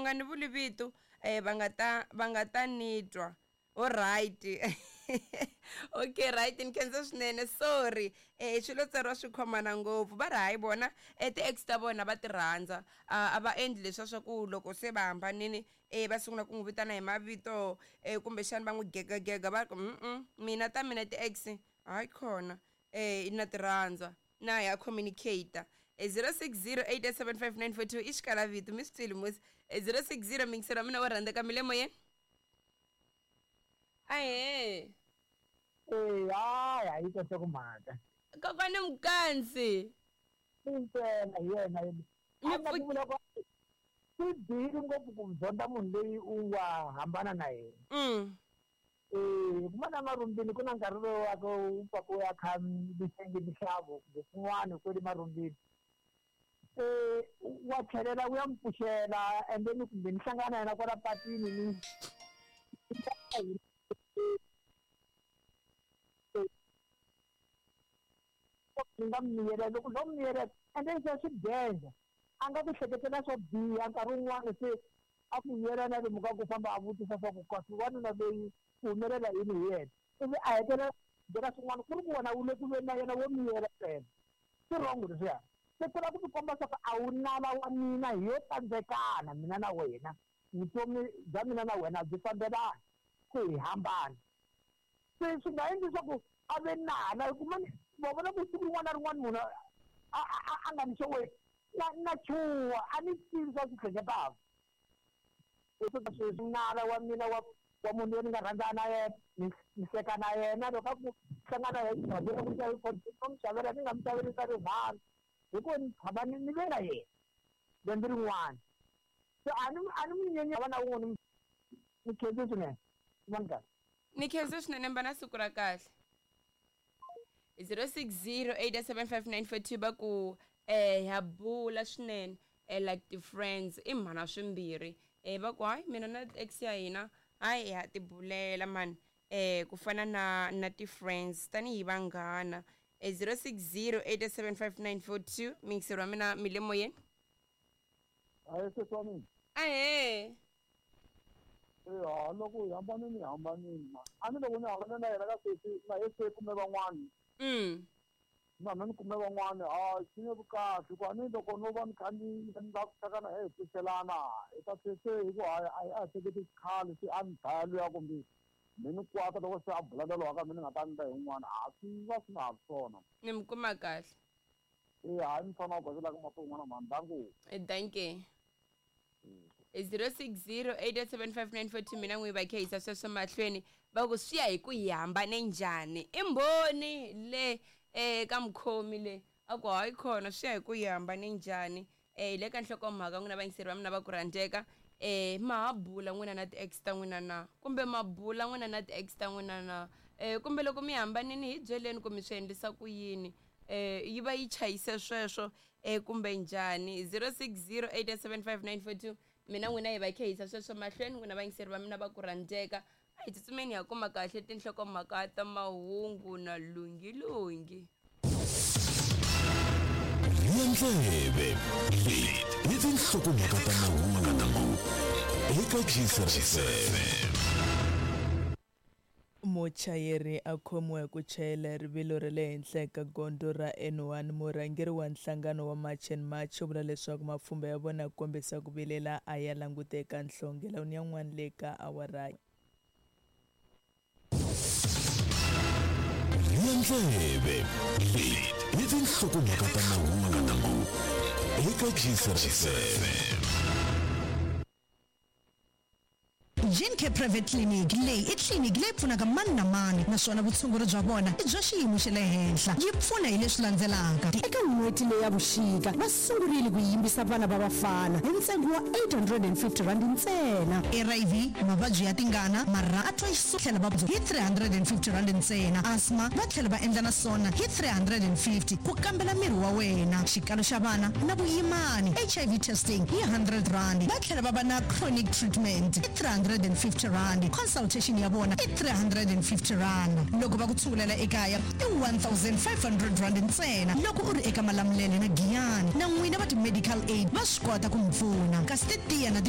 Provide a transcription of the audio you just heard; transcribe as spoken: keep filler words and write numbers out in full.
nga ni vuli vito um va nga ta va nga ta ni twa. Alright. Okay, right, ni khensa swinene. Sorry, eh swilo tsariwa swi khomana ngopfu. Va ri hayi vona eh ti-ex ta vona va ti rhandza, a va endli leswiya swa ku loko se va hambanini eh va sungula ku n'wi vitana hi mavito eh kumbexana va n'wi gegagega. Va ku mm mina ta mina ti-ex hayi khona eh na ti rhandza na ya communicate. zero six zero eight seven five nine four two i xikalavito mi swi twile musi. zero six zero mingiselo wa mina wo rhandzeka mi le moyeni. Ahee. Eh, hayi a yi kahle ku mhaka. Kokwani Mkansi. Ntsena hi yena yena. A nga ku vula ku swi bihile ngopfu ku zonda munhu loyi u nga hambana na yena. Mm. Eh, kumana marumbini ku na nkarhi lowu wa ku pfa ku ya kha mihlengi mixavo kumbe swin'wana kwele marumbini. Eh, wa tlhelela u ya mi pfuxela and then kumbe ni hlangana na yena kwala patwini ni ni nga miyela loko no miyela and then se swi danger a nga ku hleketela swo biha nkarhi wun'wana se a ku yela na lomu ka ku famba a vutisa swa ku kasi wanuna loyi ku humelela yini hi yena ivi a hetelela byela swin'wana ku ri ku wena wu le ku veni na yena wo miyela ntsena. Swi wrong leswiya. Se ku lava ku tikomba swa ku a wu nala wa mina hi yo tsandzekana mina na wena vutomi bya mina na wena byi fambelana ku hi hambana. Se swi nga endli swa ku a ve nala hikuva wa vona ku siku rin'wana na rin'wana munhu a a a nga ni xo na na chuha a ni tivi swa swi hleketaka. Sweswi nala wa mina wa wa munhu loyi ni nga rhandzana na yena ni ni hleka na yena loko a ku hlangana na yena ku mu xavela ni nga mu xaveli swa rin'wana hikuva ni tshama ni ni ve na yena lembe rin'wana. Se a ni a ni mu nyenya va na wun'we ni khensi swinene. Vona kahle. Ni khensa swinene mba na siku ra kahle. zero six zero eight seven five nine four two va ku eh ha bula swinene eh like the friends i mhana swimbirhi eh va ku hayi mina na ex ya hina hayi ha tibulela man eh ku fana na na ti friends tanihi vanghana. Eh zero six zero eight seven five nine four two mingiselo wa mina mi le moyeni. Hayi sesi wa mina. Ahee. Eh loko hi hambanile hi hambanile ma a ni loko ni hambane na yena ka sesi na ye se kume van'wana. Mm. Na mina ni kume van'wana a swi nge vi kahle hikuva ni loko no va ni kha ni ni lava ku hlangana hi pfuxelana hi ta se se hi ku hayi a a hleketi xikhale se a ni dlaya luya kumbe mi ni kwata loko se a bula na lowa ka mina ni nga ta ndla hi un'wana a swi va swi nga ha ri swona. Ni mi kuma kahle. Eh hayi ni fana u gazelaka mato un'wana mhandangu. Eh dankie. zero six zero eight seven five nine four two mina n'wi va khehisa sweswo mahlweni va ku swi ya hi ku hi hambane njhani. I mbhoni le eh ka mukhomi le a ku hayi khona swi ya hi ku hi hambane njhani. Eh le ka nhlokomhaka n'wina vayingiseri va mina va ku rhandzeka eh ma ha bula n'wina na ti-ex ta n'wina na kumbe ma bula n'wina na ti-ex ta n'wina na eh kumbe loko mi hambanini hi byeleni ku mi swi endlisa ku yini eh yi va yi chayise sweswo eh kumbe njhani. zero six zero eight seven five nine four two mina n'wina hi va khehisa sweswo mahlweni n'wina vayingiseri va mina va ku rhandzeka. A hi tsutsumeni ha kuma kahle tinhlokomhaka ta mahungu na lungilungi. Ndleve leti i tinhlokomhaka ta mahungu eka G seven. Muchayeri a khomiwa hi ku chayela rivilo ra le henhla eka gondzo ra N one. Murhangeri wa nhlangano wa March and March u vula leswaku mapfhumba ya vona ku kombisa ku vilela a ya languteka nhlongela ni yan'wana le ka awara. Ndleve leti i tinhlokomhaka ta mahungu eka G seven. Gencare Private Clinic leyi i tliliniki leyi pfunaka mani na mani naswona vutshunguri bya vona i bya xiyimo xa le henhla. Yi pfuna hi leswi landzelaka. Eka n'hweti leyi ya vuxika va sungurile ku yimbisa vana va vafana hi ntsengo wa eight hundred and fifty rand ntsena. R I V, mavabyi ya tingana, marha a twa tlhela va hi three hundred and fifty rand ntsena. Asthma va tlhela va endla na swona hi three hundred and fifty ku kambela miri wa wena. Xikalo xa vana na vuyimani, H I V testing hi hundred rand. Va tlhela va va na chronic treatment hi three hundred and fifty rand. Consultation ya vona i three hundred and fifty rand. Loko va ku tshungulela ekaya i one thousand five hundred rand ntsena. Loko u ri eka Malamulele na Giyani na n'wina va ti-medical aid va swi kota ku mi pfuna. Kasi ti tiya na